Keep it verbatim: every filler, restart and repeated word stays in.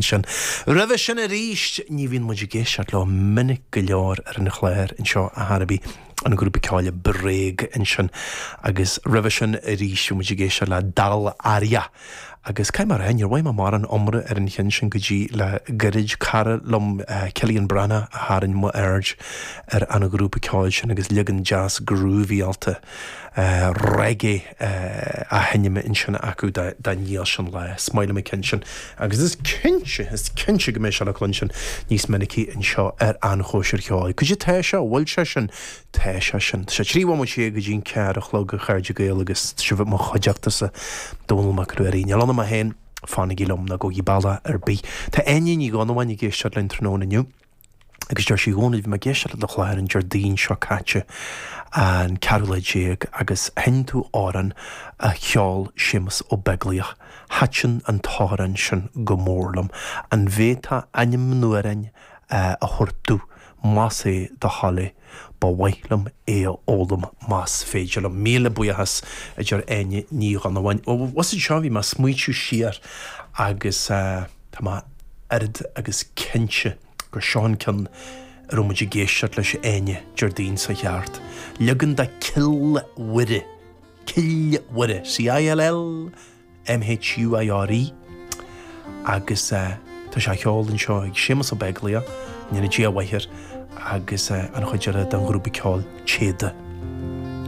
Sin. Roimhe sin arís ní bhíonn muid ag éisteacht leo minic go leor ar an chlár anseo a Harabi an grúpa ceoil Bréag ansin agus roimhe sin arís bhí muid ag éisteacht le Dal Aria. Agus cai mar níor bhaid mar an omra ar an cheann sin go dtí le gairid cara liom Cillian Breathnach a tharraing m'aird ar an ghrúpa ceoil sin agus leagan deas groovy-áilte reggae á sheinm ansin acu dá níl sin le smaoile me cin sin. Agus is cinnte is cinnte go mbeidh sé le cluinstin níos minicí anseo ar an chóisir cheoil. Cad é tá sé bhfuil sé sin tá sé sin. Sé trí bhomaite go dtí an ceathair a chlog a chairde Gael agus sibh mo chuideachtasa Dónall Mac Ruairí. Níl ionam féin fanaigí liom ná gabhaigí bealach ar bith. Tá Áine Ní Dhonnabháin ag éisteacht linn tráthnóna inniu. Agus deir sí dhóna bhí mé ag éisteacht le do chlár an Déardaoin seo caite an ceathrú lá déag agus sheinn tú amhrán a cheol Séamus Ó Beaglaoich. Thaitin an t-amhrán sin go mór liom. An bhféadfá ainm an amhráin a thabhairt domh más é do thoil é, ba mhaith liom é a fhoghlaim más féidir liom. Míle buíochas a deir Áine Ní Dhonnabháin. Was seo bhí mé ag smaointiú siar agus tá mé oiread agus cinnte gur seo an ceann a raibh muid ag éisteacht leis Áine Déardaoin seo cheart. Leagan de Cill Mhuire. Cill Mhuire, C-I-L-L M-H-U-I-R-E agus uh, tá sé ceol anseo ag Séamus Ó Beaglaoich, Nina Dia Mhaithir agus uh, an chuid eile den ghrúpa ceoil Téada.